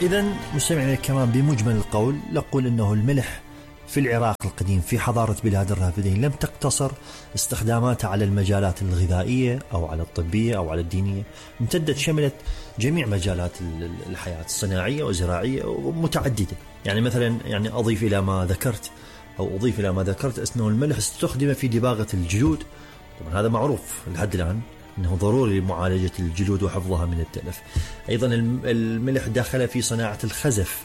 إذن مستمعينا الكرام، بمجمل القول نقول أنه الملح في العراق القديم في حضارة بلاد الرافدين لم تقتصر استخداماتها على المجالات الغذائية أو على الطبية أو على الدينية، امتدت شملت جميع مجالات الحياة الصناعية وزراعية ومتعددة. يعني مثلا أضيف إلى ما ذكرت أنه الملح استخدم في دباغة الجلود. طبعا هذا معروف لحد الآن أنه ضروري لمعالجة الجلود وحفظها من التلف. أيضا الملح دخل في صناعة الخزف،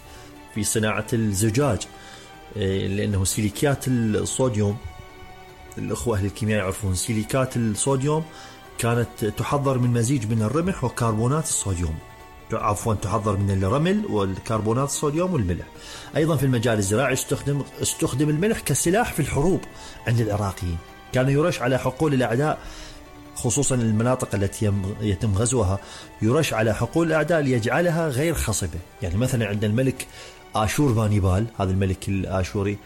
في صناعة الزجاج، لأنه سيليكات الصوديوم، الأخوة أهل الكيمياء يعرفون سيليكات الصوديوم كانت تحضر من مزيج من الرمح وكربونات الصوديوم، تحضر من الرمل والكربونات الصوديوم والملح. أيضا في المجال الزراعي استخدم الملح كسلاح في الحروب عند العراقيين، كان يرش على حقول الأعداء، خصوصا المناطق التي يتم غزوها، يرش على حقول الأعداء ليجعلها غير خصبة. يعني مثلا عند الملك آشور بانيبال، هذا الملك الآشوري،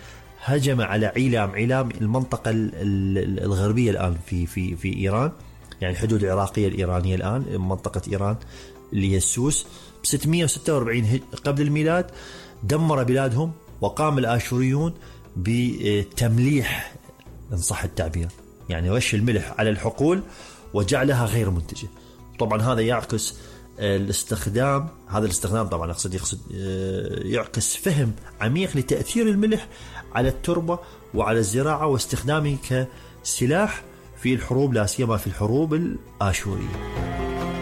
هجم على عيلام المنطقة الغربية الآن في إيران، يعني الحدود العراقية الإيرانية الآن، منطقة إيران اللي هي السوس، ب 646 قبل الميلاد. دمر بلادهم، وقام الآشوريون بتمليح إن صح التعبير، يعني رش الملح على الحقول وجعلها غير منتجة. طبعا هذا يعكس الاستخدام طبعا أقصد يعكس فهم عميق لتأثير الملح على التربة وعلى الزراعة واستخدامه كسلاح في الحروب، لا سيما في الحروب الآشورية.